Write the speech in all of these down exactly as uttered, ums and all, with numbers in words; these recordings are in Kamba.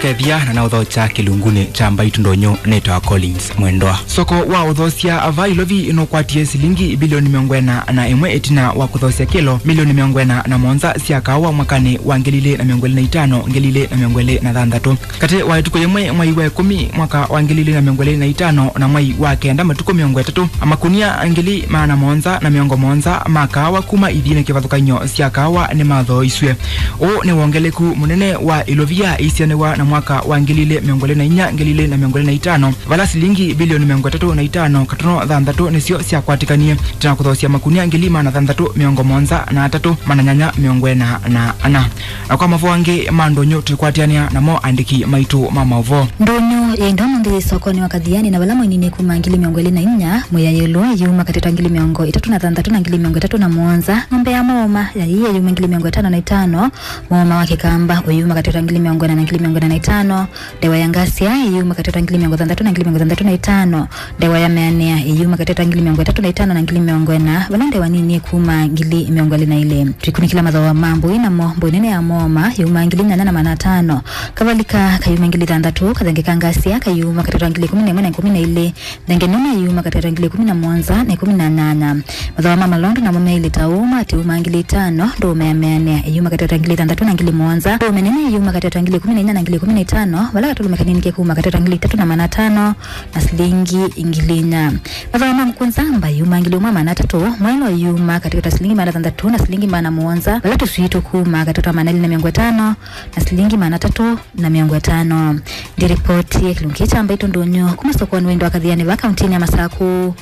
Kethia na naũthokya kĩlungunĩ kya mbaitũ ndũnyũ nĩtawa Collins Mwendwa. Soko wa ũthosya va Ilovi nũkwatie silingi bilioni mĩongo ĩna na ĩmwe ĩtina wa kũthosya kĩlo milioni mĩongo ĩna na mũonza sya kaawa mwakanĩ wa ngili ilĩ na mĩongo ĩlĩ na itano, ngili ilĩ na mĩongo ĩlĩ na thanthatũ. Katĩ wa ĩtukũ yĩmwe mwai wa ĩkũmi mwaka wa ngili ilĩ na mĩongo ĩlĩ na itano na mwai wa kenda matukũ mĩongo ĩtatũ, makunia ngili maana mũonza na mĩongo mũonza ma kaawa kuma ithiinĩ kĩvathũkany'o sya kaawa nĩmathooisw'e. Ũũ nĩ wongeleku mũnene wa Ilovia ĩisianĩw'a na mwaka wa ngili ilĩ mĩongo ĩlĩ na inya, ngili ilĩ na mĩongo ĩlĩ na itano, vala silingi bilioni mĩongo ĩtatũ na itano katono thanthatũ nĩsyo syakwatĩkanie, tena kũthoosya makunia ngili maana thanthatũ mĩongo mũonza na atatũ, maana nyanya mĩongo ĩna na ana. Na kwa mavoo angĩ ma ndũnyũ tũikwatĩanĩa namo andĩki maitũ ma maũvoo. Ndũnyũ yĩ ndo mũnthĩ yĩ sokonĩ wa Kathiani, na vala mwainini kuma ngili mĩongo ĩlĩ na inya, mwĩaĩlo yuma katĩ wa ngili mĩongo ĩtatũ na thanthatũ na ngili mĩongo ĩtatũ na mũonza, ng'ombe ya mũũma yaĩ yuma ngili mĩongo ĩtano na itano, mũũma wa kĩkamba ũyuma katĩ wa ngili mĩongo ĩna na ngili mĩongo ĩna na itano, ndewa ya ngasya ĩyuma katĩ wa ngili mĩongo thanthatũ na ngili mĩongo thanthatũ na itano, ndewa ya mĩanĩa ĩyuma katĩ wa ngili mĩongo ĩtatũ na itano na ngili mĩongo ĩna, vala ndewa nini ĩkuma ngili mĩongo ĩlĩ na ilĩ. Tũikunĩkĩla mathooa ma mbũi namo, mbũi nene ya mũũma yuma ngili nyanya na maana atano, kavalika kayuma ngili thanthatũ, kathenge ka ngasya kayuma katĩ wa ngili ĩkũmi na ĩmwe na ĩkũmi na ilĩ, thenge nene yuma katĩ wa ngili ĩkũmi na mũonza na ĩkũmi na nyanya. Mathooa ma malondu namo meilĩ ta ũũ, mati yuma ngili itano, ndũũme ya mĩanĩa ĩyuma katĩ wa ngili thanthatũ na ngili mũonza, ndũũme nene ĩyuma katĩ wa ngili ĩkũmi na inya na ngili ĩkũmi na itano, vala katũlũme kanini kekuma katĩ wa ngili itatũ na maana atano na silingi ngili inya. Mathooa ma ngũkũ nzamba yuma ngili ũmwe maana atatũ, mwaĩlo yuma katĩ wa silingi maana thanthatũ na silingi maana mũonza, vala tũswii tũkuma katĩ wa maana elĩ na mĩongo ĩtano na silingi maana atatũ na mĩongo ĩtano. Ndĩripoti ya kĩlungu kya mbaitũ ndũnyũ kuma sokonĩ wa indo wa Kathiani va kauntinĩ ya Masaku,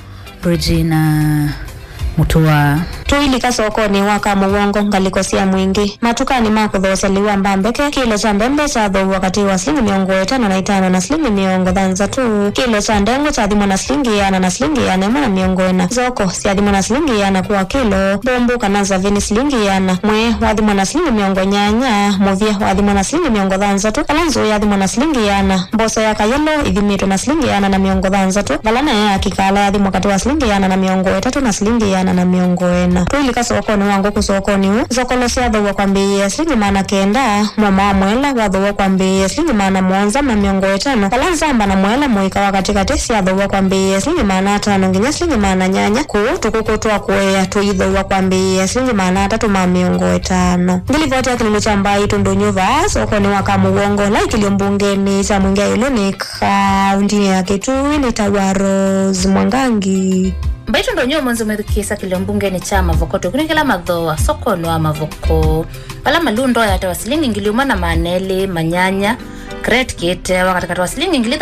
Regina Mutua. Tũilika sokonĩ wa Kamũwongo, ngalĩko sya Mwingĩ. Matukanĩ ma kũthoosya lĩu wa mbambeke, kĩlo kya mbembe kyathooaw'a katĩ wa silingi mĩongo ĩtano na itano na silingi mĩongo thanthatũ. Kĩlo kya ndengũ kyathimwa na silingi ĩana na silingi ĩana ĩmwe na mĩongo ĩna. Thoko syathimwa na silingi ĩana kwa kĩlo. Mbũmbũ kana nzavĩ nĩ silingi ĩana. Mwĩĩ wathimwa na silingi mĩongo nyanya. Mũvye wathimwa na silingi mĩongo thanthatũ. Vala nzũũ yathimwa na silingi ĩana. Mboso ya kayelo ĩthimĩtwe na silingi ĩana na mĩongo thanthatũ, vala nayo ya kĩkala yathimwa katĩ wa silingi ĩana na mĩongo ĩtatũ na silingi ĩana na mĩongo ĩna. Tũilika sokonĩ wa ngũkũ sokonĩ ũũ, nzokolo syathooaw'a kwambĩĩa silingi maana kenda, mũũma wa mwela wathooaw'a kwambĩĩa silingi maana mũonza ma mĩongo ĩtano, vala nzamba na mwela mũika wa katĩkatĩ syathooaw'a kwambĩĩa silingi maana atano nginya silingi maana nyanya, kũu tũkũkũ twa kũea tũithooaw'a kwambĩĩa silingi maana atatũ ma mĩongo ĩtano. Ngilivoti ya kĩlungu kya mbaitũ ndũnyũ vaa sokonĩ wa Kamũwongo, laikĩlyo mbungenĩ kya Mwingĩ ĩũlũ nĩ kauntinĩ ya Kitui nĩtawa Rose Mwangangi. Mbaitũ ndũnyũ ũmũnthĩ mwĩthukĩĩsya kĩlio mbungenĩ kya Mavoko, tũkunĩkĩla mathooa sokonĩ wa Mavoko, vala malundo yatawa silingi ngili ũmwe na maana elĩ ma nyanya, crate kĩtewa katĩkatĩ wa silingi ngili